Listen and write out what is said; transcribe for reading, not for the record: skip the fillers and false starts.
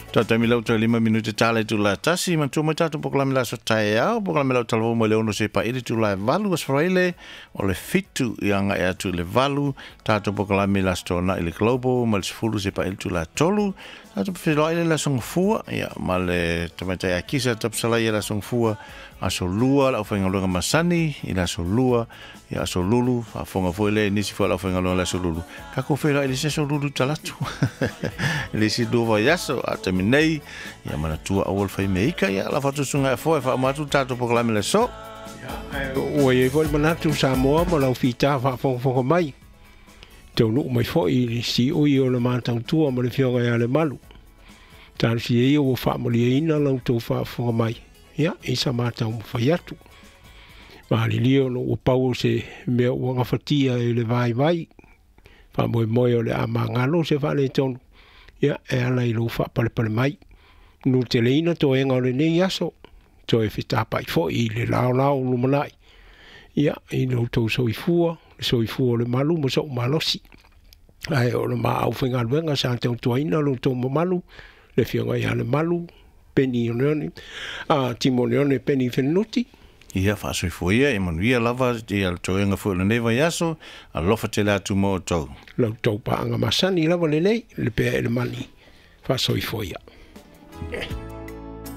Tatou lau toe 5 minute tala i tula 1 manatua mai tatou polokalame le aso taeao, polokalame lau talavou mai le 6 seia paia le itula e 8, Aso Faraile o le 7 ia agai atu i le 8. Tatou polokalame le Aso Toonai i le Global mai le 10 seia paia le itula e 3. Tatou feiloai le Aso Gafua ia ma le tamaitai Akisa Tapsalai i le Aso Gafua, Aso Lua le aufaigaluega masani i le Aso Lua ia, Aso Lulu faafofoga foi le nisi foi o le aufaigaluega le Aso Lulu. Tatou feiloai i le isi Aso Lulu Talatu i le isi 2 vaiaso a taimi nei. Ia manatua aua le faimeika ia la faatusuga e foe faauma atu tatou polokalame le aso. Ua iai foi le manatu Samoa ma lau fita faafogafoga mai, taunuu mai foi i le siui o le matautua ma le afioga ia Lemalu. Talosia ia ua faamalieina la outou faafofoga mai ia i sa matau mafai atu. Malilie ona ua pau o se mea ua gafatia e le vaivai faamoemoe o le a magalo se faaletonu ia e ala i lou faapalepale mai. Nuteleina toega o lenei aso, toe fetapai foi i le laolao lumanai ia i lo outou soifua, le soifua o le malu ma so'u malosi. Ae o le maau faigaluega sa tautuaina lo outou mamalu, le afioga ia Lemalu Peni Oneone, a Timoneone Peni Fenunuti. Ia faasoifua ia e manuia lava ia le toega foi o lenei vaiaso. Alofa tele atu mo outou. La outou paaga masani lava lenei le pea e le mani. Faasoifua ia.